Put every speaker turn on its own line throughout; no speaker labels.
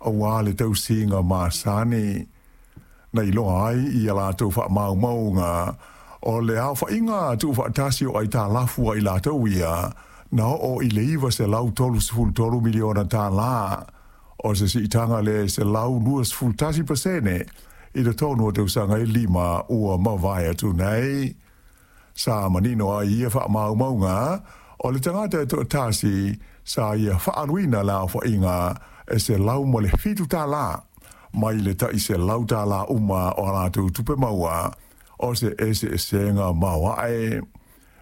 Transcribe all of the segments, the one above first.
Auā le tausiga masani na iloa ai i a latou faamaumauga o le aofaiga tuufaatasi o aitalafu a i latou ia na oo i le $933 miliona tālā, o se siitaga lea e 121% i totonu o tausaga e 5 ua mavae atu nei. Sa manino ai i ia faamaumauga, o le tagata e toatasi sa ia faaaluina le aofaiga e $107 mai le tai $100 uma o a latou tupe maua, o se eseesega maoae.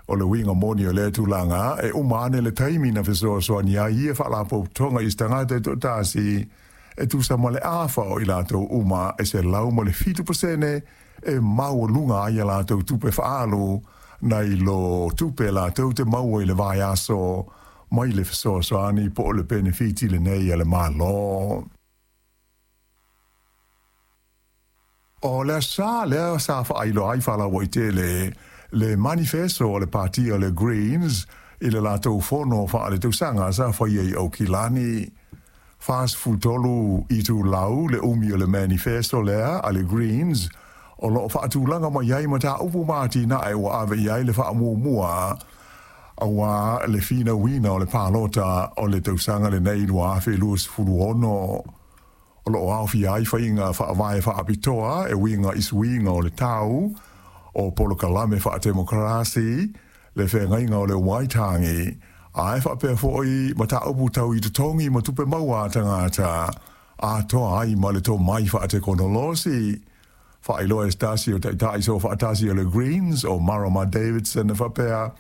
O le uiga moni o lea tulaga, e uma ane le taimi na fesoasoani ai ia faalapotopotoga i se tagata e toatasi e tusa ma le afa o i latou uma e 107% e maualuga ai a latou tupe faaalu nai lo tupe latou te maua i le vaiaso mai le fesoasoani po o le penefiti lenei a le Malo. O le aso lea sa faailoa ai faalauaitele le manifeso o le pati o le Greens i le latou fono faaletausaga sa faia i Aukilani. 43 itulau le umi o le manifeso lea a le Greens o loo faatulaga mai ai mataupu ma atinae ua ave i ai le faamuamua auā le finauina o le palota o le tausaga lenei 2026. O loo aofia ai faiga faavae faapitoa e uiga i suiga o le tau, o polokalame faatemokarasi, le feagaiga o le Waitangi, ae faapea foi mataupu tau i totogi ma tupe maua a tagata, atoa ai ma le tomai faatekonolosi. Faailoa e se tasi o taitai soofaatasi o le Greens, o Marama Davidson e faapea,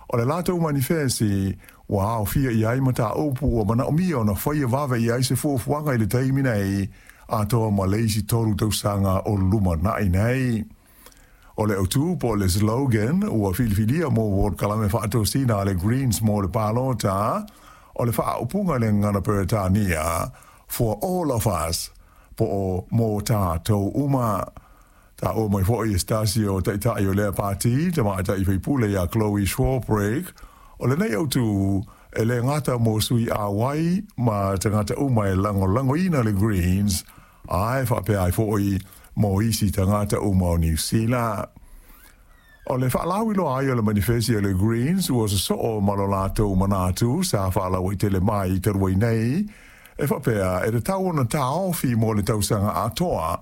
o le latou manifesi ua aofia i ai mataupu ua manaomia ona faia vave i ai se fuafuaga i le taimi nei, atoa ma le isi 3 tausaga o lumanai nei. O le autū po o le slogan ua filifilia mo polokalame faatosina a le Greens mo le palota, o le faaupuga i le gagana Peretania, For all of us, po o Mō tātou uma. Taua mai foi e se tasi o taitai o lea pati, tamaitai faipule ia Chloe Swarbrick, o lenei autū e le gata mo sui auai ma tagata uma e lagolagoina le Greens, ae faapea ai foi mo isi tagata uma o Niu Sila. O le faalauiloa ai o le manifesi a le Greens ua sosoo ma lo latou manatu sa faalauaitele mai talu ai nei, e faapea e tatau ona taofi mo le tausaga atoa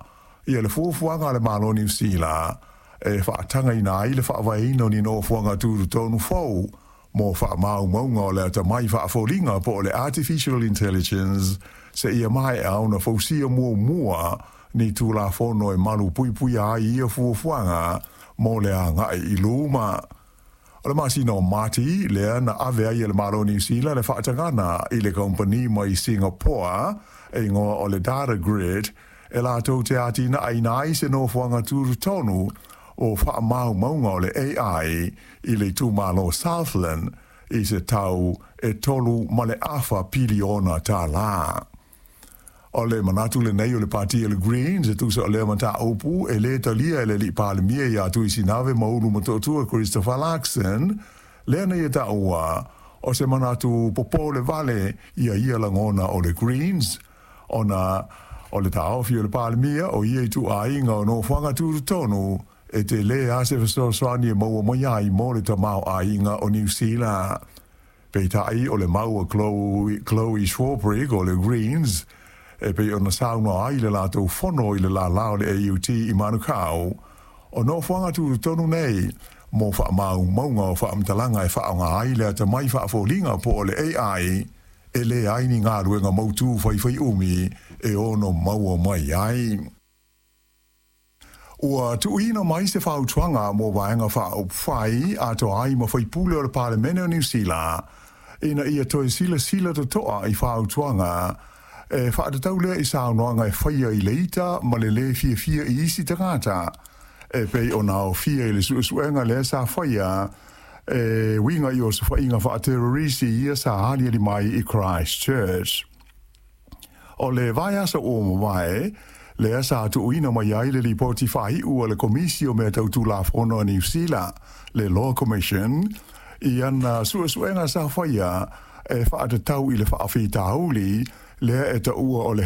ia le fuafuaga a le Malo o Niu Sila e faatagaina ai le faavaeina o ni nofoaga tutotonu fou mo faamaumauga o le atamai faafoliga po o le artificial intelligence seia maea ona fausia muamua ni Tulafono e malupuipuia ai ia fuafuaga mo le agai i luma. O le masina o Mati lea na ave ai e le Malo o Niu Sila le faatagana i le kamupani mai Singapore e igoa o le Datagrid e latou te atinaeina ai se nofoaga tutotonu o faamaumauga o le AI i le itumalo Southland i se tau e $3.5 piliona. O le manatu lenei o le pati o le Greens e tusa o lea mataupu e lē talia e le alii Palemia ia Tuisinave Maulu Motootua Christopher Luxon, lea na ia taua o se manatu popole vale ia ia lagona o le Greens, ona o le taofi o le Palemia o ia ituaiga o nofoaga tutotonu e telē lava se fesoasoani e maua mai ai mo le tamaoaiga o Niu Sila. Peitai o le mau a Chloe Swarbrick o le Greens e pei ona saunoa ai i le latou fono i le lālā o le AUT i Manukau, o nofoaga tutotonu nei mo faamaumauga o faamatalaga e faaaoga ai le atamai faafoliga po o le AI, e leai ni galuega mautū faifaiumi e ono maua mai ai. Ua tuuina mai se fautuaga mo Vaega Faaupufai atoa ai ma faipule o le Palemene o Niu Sila ina ia toe silasila totoa i fautuaga e faatatau lea i saunoaga e faia i le ita ma le lē fiafia i isi tagata e pei ona aofia i le suesuega lea sa faia e uiga i osofaiga faaterorisi ia sa aliali mai i Christchurch. O le vaiaso ua mavae, lea sa tuuina mai ai le lipoti faaiu a le Komisi o Mea Tau Tulafono a Niu Sila, le Law Commission, i ana suesuega sa faia e faatatau i le faafitauli lea e taua o le